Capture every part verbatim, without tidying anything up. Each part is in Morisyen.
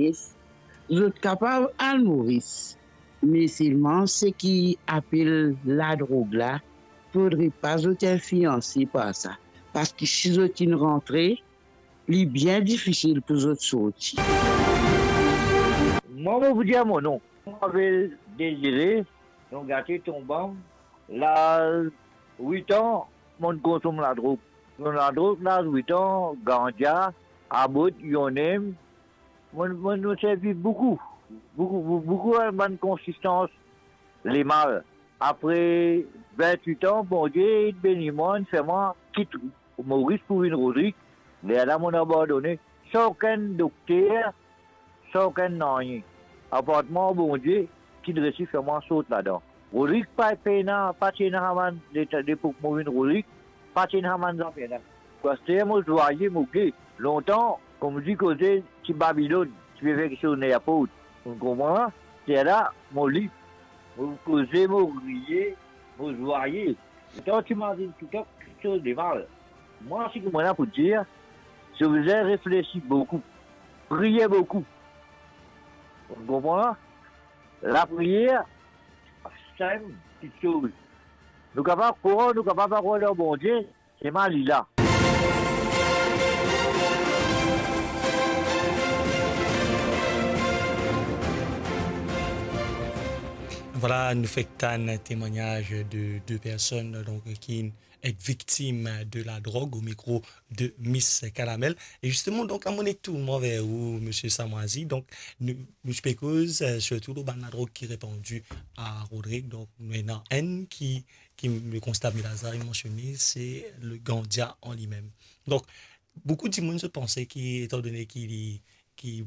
Moris, zot kapav al Moris, me selman seki apel ladrog la, fodre pa zot inflianse par sa, parski si zot inn rantre, li bien difisil pou zot sorti. Mwa, mo pou dir mo non. Mo apel Dezire, non gate Tonbam. Laz wit an, mo'nn konsom ladrog. Konsom ladrog, laz wit an, gandia, abot, you name. Mo, mo, mo servi boukou, boukou, bou-, boukou bann konsistans lemal. Apre vintwit an, Bondie inn beni mwa, inn fer mwa kit Moris pou vinn Rodrig. Lerla mo'nn abandone. San okenn dokter, san okenn nanye. Apart mwa Bondie ki'nn resi fer mwa sort ladan. Rodrig pa pena, pa ti ena sa bann, le, lepok mo vinn Rodrig, pa ti ena sa bann zafer la. Aster mo zwaye, mo ge. Lontan, kouma dir koze ti Babilonn, ti pe fer kiksoz ninport. Ou konpran? Lerla, mo lib. Mo koze, mo riye, mo zwaye. Lontan ti mazinn toutan kiksoz de mal. Mwa, seki mo ena pou dir, zot bizin reflesi boukou, priye boukou. Ou konpran? Lapriyer, sa enn kiksoz. Nou kapav krwar, nou kapav pa krwar dan Bondie, selman li la. Vwala, nou fek tann temwagnaz de de personn, donk, ki et viktim de ladrog, o mikro de Miss Kalamel. E zisteman, donk, la mo amenn tou mwa ver ou, Misie Samwazi. Donk, nou, nou ti pe koz, eh, sirtou lor bann ladrog ki repandi a Rodrig. Donk, nou ena enn ki, ki le konstat Milaza inn mansione, se le gandia an limem. Donk, boukou dimoun zot panse ki, etandone ki li ki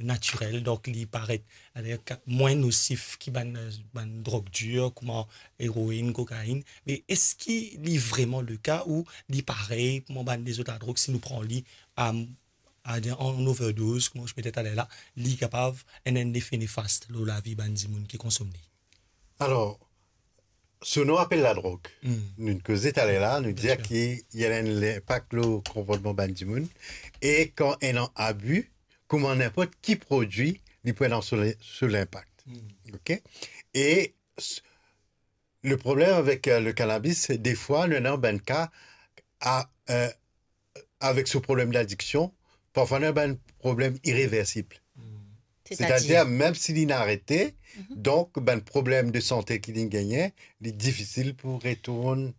natirel, donk li paret, eh, ka-, mwin nosif ki bann, bann drog dir, kouma eroinn, kokainn. Me eski li vreman le ka ou li parey kouma bann lezot ladrog, si nou pran li, a, a, an overdoz, kouma ou ti pe dir taler la, li kapav ena enn lefe nefas lor lavi bann dimoun ki konsom li? Alor, so nou apel ladrog. Hmm. Nou'nn koze taler la, nou dir ki li ena enn linpak lor konportman bann dimoun. E kan ena abi, kouma ninport ki prodwi, li pou ena so, so linpak. Hmm. Ok? E s-, le problem avek, eh, le kanabis, se defwa nou ena bann ka a, eh, avek so problem ladiksion, parfwa nou ena bann problem ireversib. Hmm. Setadir? Setadir, mem si li inn arete, mhm, donk bann problem de sante ki li'nn gagne, li difisil pou retourn,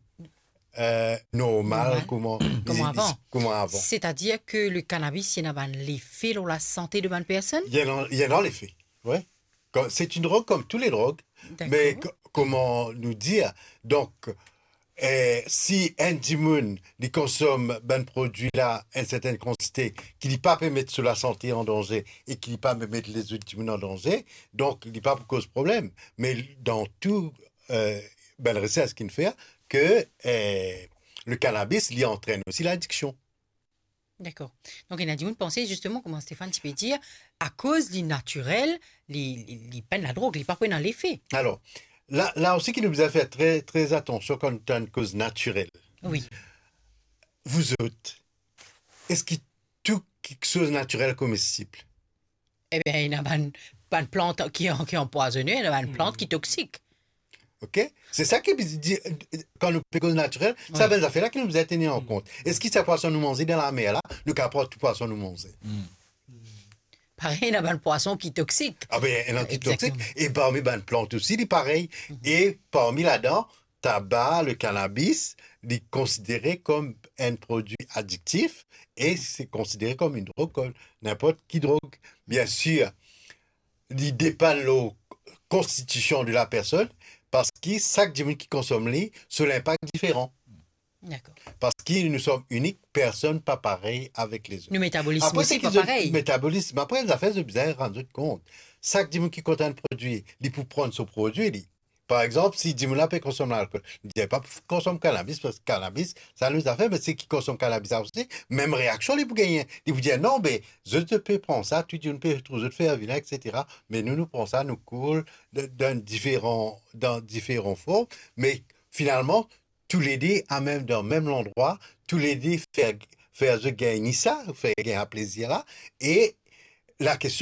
eh, normal, normal, kouma, kouma avan. Kouma avan. Setadir ki le kanabis, li ena bann lefe lor lasante de bann personn? Li ena, li ena lefe, wi. Kom, se enn drog kom tou le drog, me, dakor, ko-, kouma nou dir, donk, eh, si enn dimoun, li konsom bann prodwi la, enn sertenn kantite, ki li pa pe met so lasante an danze e ki li pa pe met lezot dimoun an danze, donk li pa pou koz problem. Me dan tou, eh, bann resers ki'nn fer, ki, eh, le kanabis, li antrenn osi ladiksion. Dakor. Donk, ena dimoun panse, zisteman, kouma Stéphane ti pe dir, akoz li natirel, li, li, li pa enn ladrog, li pa pou ena lefe. Alor, la, la osi ki nou bizin fer tre, tre atansion kan nou tann koz natirel. Wi. Vouzot, eski tou kiksoz natirel komestib? Eben, ena bann, bann plant ki, ki anpwazone, ena bann plant ki toksik. Ok? Se sa ki bizin dir, kan nou pe koz natirel, sa, wi, bann zafer la ki nou bizin tenir an kont. Eski sa pwason nou manze dan lamer la, nou kapav pran tou pwason nou manze? Parey, ena bann pwason ki toksik. Ah ben, ena ki toksik. Egzakteman. E parmi bann plant osi, li parey. Mhm. E parmi ladan, taba, le kanabis, li konsidere kom enn prodwi adiktif e se konsidere kom enn drog, kom ninport ki drog. Biensir, li depann lor konstitision de la personn, parski sak dimoun ki konsom li, so linpak diferan. Dakor. Parski nou som inik, personn pa parey avek lezot. Nou metabolism osi pa parey. Apre, seki zot metabolism, apre, zafer zot bizin rann zot kont. Sak dimoun ki konsom enn prodwi, li pou pran so prodwi, li. Par exanp, si dimoun la pe konsom lalkol, li dir pa pou konsom kanabis, parski kanabis, sa enn lot zafer, me seki konsom kanabis la osi, mem reaksion li pou gagne. Li pou dir, "Non, be, zot, zot pe pran sa, tou dimoun pe trouv zot fer vin, et cetera. Me nou, nou pran sa, nou koul, de, dan diferan, dan diferan form." Me finalman, toulede a mem, dan mem landrwa, toulede fer, fer zot gagn sa, fer gagn sa plezir la, e lakestion